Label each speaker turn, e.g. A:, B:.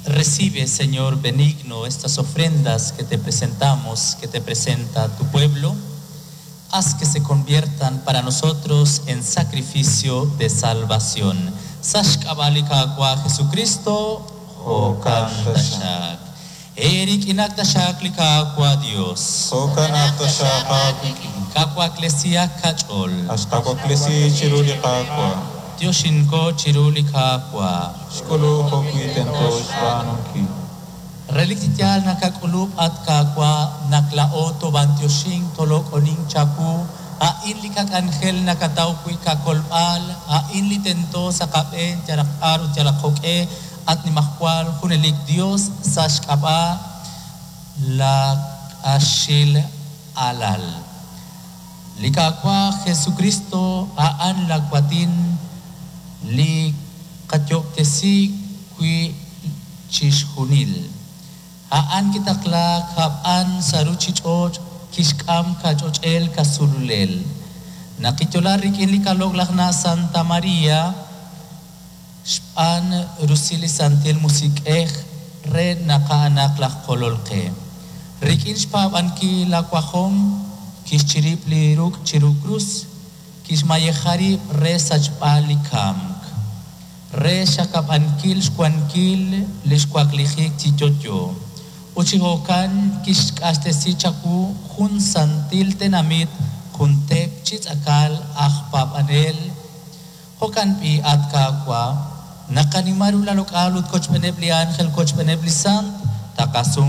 A: Recibe, Señor benigno, estas ofrendas que te presentamos, que te presenta tu pueblo. Haz que se conviertan para nosotros en sacrificio de salvación. Sa' xk'ab'a' li Qaawa' Jesucristo, jo'kan taxaq. Eerik'inak taxaq li Qaawa' Dios.
B: Jo'kanaq taxaq aawik'in.
A: Qawaklesihaq qach'ool.
B: Axqawaklesi chiru li Qaawa'.
A: Yoxinko chiru li Qaawa'.
B: Xk'ulub' jo'wi' tento xb'aanunkil.
A: Relik chi yaal nakak'ulub' at Qaawa' naq laa'o toob'antioxink toloq'onink chawu, a'in li qak'anjel nakataw wi' qakolb'al, a'in li tento sa' qab'een yalaq b'ar ut yalaq jo'q'e, at Nimajwal junelik Dios sa' xk'ab'a' la q'axil alal. Li Qaawa' Jesucristo a'an la waatin li qayoob'tesi wi' chixjunil. A'an kitaqlaak hab'an sa' ruchich'och' kixk'am kach'och'el kasululel. Naq kiyo'la rik'in li kalo'laj na' Santa Maria, xb'aan rusil li Santil Musiq'ej re naq a'anaq laj Kolol qe. Rik'in xpaab'ankil la wajom kixchirib' li ruk' chiru krus, kixmayeja rib' re sachb'al li kamk, re xakab'ankil xwankil li xwaklijik chi yo'yo. Ut chi jo'kan kixq'axtesi chawu jun santil tenamit, jun teep chi tz'akal aj paab'anel. Jo'kan b'i' at Qaawa', naqanima ru la loq'al ut kochb'eeneb' li ángel kochb'eeneb' li sant, taqasum.